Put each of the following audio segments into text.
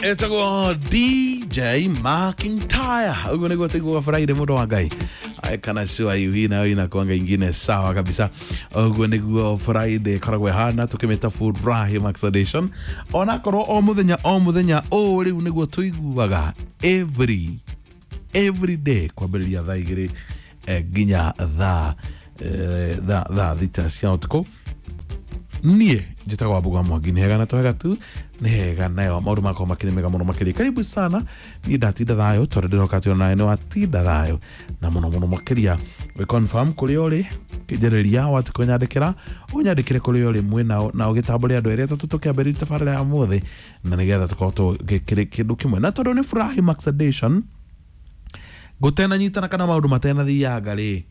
Etagwo DJ McIntyre. Ũguo nĩguo tũiguaga Friday, mũndũ wa Ngai. Ai, kana sure hii nayo inakuanga ingine sawa kabisa. Ũguo nĩguo Friday ĩkoragwo ĩhana, tũkĩmĩta Furahi Max Edition. Onakorwo o mũthenya o mũthenya ũũ rĩu nĩguo tũiguaga every day kwambĩrĩria thaa 2 nginya thaa 6 cia ũtukũ. Niĩ njĩtagwo Wambũgũ wa Mwangi. Nĩ hega na twega tu, nĩ hega nayo maũndũ makwa makĩrĩ mega mũno makĩria. Karibu sana. Niĩ ndatinda thayũ tondũ ndĩroka atĩ onawe nĩ watinda thayũ na mũno mũno makĩria. Wĩ confirm kũrĩa ũrĩ, kĩnjarĩria wati kũnyandĩkĩra, ũnyandĩkĩre kũrĩa ũrĩ mwĩnao na ũgĩtambũre andũ erĩ atatũ tũkĩambĩrĩria tabarĩra ya ũmũthĩ, na nĩgetha tũkorwo tũgĩkĩrĩ kĩndũ kĩmwe. Na tondũ nĩ Furahi Max Edition, gũtenanyitana kana maũndũ matenathianga rĩ,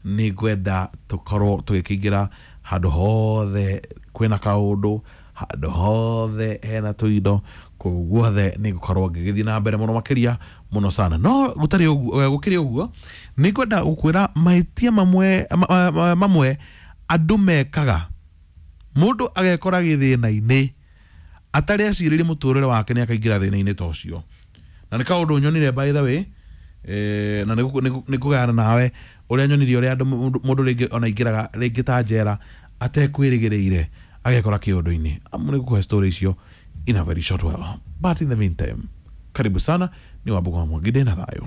nĩ ngwenda tũkorwo tũgĩkĩingĩra handũ hothe kwĩna kaũndũ, handũ hothe hena tũindo, kũu guothe nĩ ngũkorwo ngĩgĩthiĩ na mbere mũno makĩria mũno sana. No gũtarĩ ũguo, gũkĩrĩ ũguo, nĩ ngwenda gũkwĩra mahĩtia mamwe mamwe andũ mekaga, mũndũ agekora gĩthĩna-inĩ atarĩ acirĩrie mũtũrĩre wake nĩ akaingĩra thĩna-inĩ ta ũcio. Na nĩ kaũndũ nyonire, by the way, na nĩ ngũgayana nawe ũrĩa nyonire, ũrĩa andũ mũndũ rĩngĩ ona aingĩraga rĩngĩ ta njera atekwĩrĩgĩrĩire, agekora kĩũndũ-inĩ. Amu nĩ ngũkũhe story icio in a very short while, but in the meantime, karibu sana. Ni Wambũgũ wa Mwangi, ndĩna thayũ.